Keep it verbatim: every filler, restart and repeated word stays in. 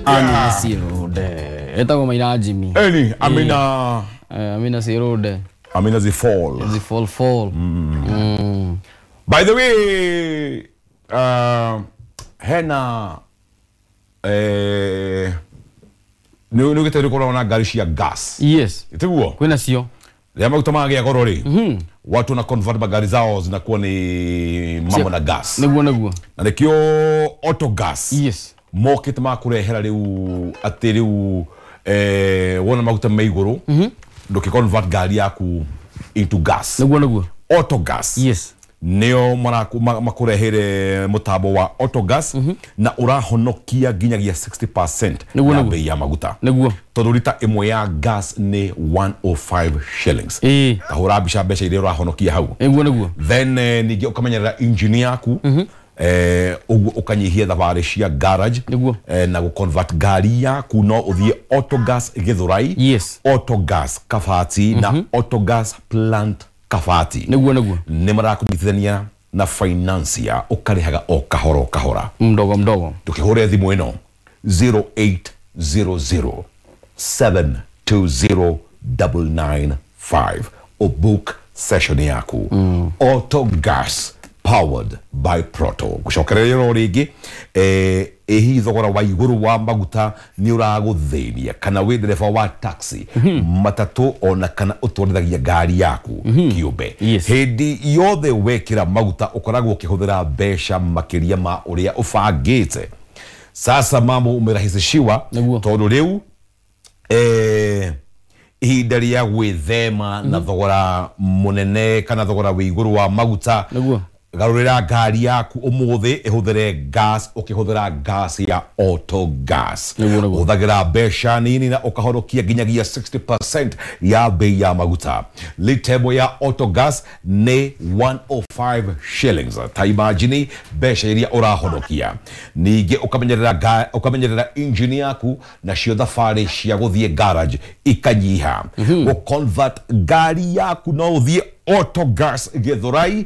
Amina Sirode etagwo Maina Jimmy. Eni Amina. Eh, Amina Sirode. Amina Zifall. Zi fall fall mm. By the way, uh, hena eh, nä å gä te korwo na ngari cia gas? Yes. Tiguo? Kwĩna cio. Rĩrĩa maguta magĩa goro rĩ, watu na convert magari zao zinakuwa ni mambo na gas. Nĩguo nĩguo. Na nĩkĩo auto gas yes mokĩte makũrehera rĩu atĩ rĩu eh, wona maguta me igũrũ, ndũkĩ convert ngari yaku into gas. Nĩguo nĩguo. Auto gas yes nĩo maraku- ma- makũrehere mũtambo wa autogas na ũrahonokia nginyagia sixty percent Nĩguo, ya nĩguo. bei ya maguta, nĩguo tondũ rita ĩmwe ya gas nĩ one hundred and five shillings. Ĩĩ. Tahũra mbica mbeca iria ũrahonokia hau. Nĩguo nĩguo. Then eh, ningĩ ũkamenyerera engine yaku, eh, ũguo ũkanyihia thabarĩ cia garage. Nĩguo. eh, na gũconvert ngari yaku, no ũthiĩ Autogas Gĩthũrai, Yes. Autogas Kabati na Autogas plant Kabati. Nĩguo nĩguo. Nĩ marakũnyitithania na financier, ũkarĩhaga o kahora o kahora. Mdogo mdogo. Ndũkĩhũre thimũ ĩno zero eight zero zero seven two zero nine nine five, ũbook session yaku. Autogas, powered by Proto. Gũcokereria ro rĩngĩ, eh, ĩ hihi thogora wa igũrũ wa maguta nĩ ũragũthĩnia, kana wĩ ndereba wa taxi, matatũ, ona kana ũtwarithagia ngari yaku kĩũmbe? Yes. Hĩndĩ yothe wekĩra maguta ũkoragwo ũkĩhũthĩra mbeca makĩria ma ũrĩa ũbangĩte. Sasa mambo umerahisishiwa, Nĩguo. tondũ rĩu eh, ihinda rĩa gwĩthema na thogora mũnene kana thogora wĩ igũrũ wa maguta, Nĩguo. garũrĩra ngari yaku ũmũthĩ ĩhũthĩre gas, ũkĩhũthĩra gas ya auto gas. Nĩguo, nĩguo. Ũhũthagĩra mbeca nini na ũkahonokia nginyagia sixty percent ya bei ya maguta. Lita ĩmwe ya auto gas nĩ one hundred and five shillings. Ta imagine mbeca iria ũrahonokia. Ningĩ ũkamenyerera nga- ũkamenyerera engine yaku, nacio thabarĩ cia gũthiĩ garage ikanyiha. Gũconvert ngari yaku, no ũthiĩ Autogas Gĩthũrai.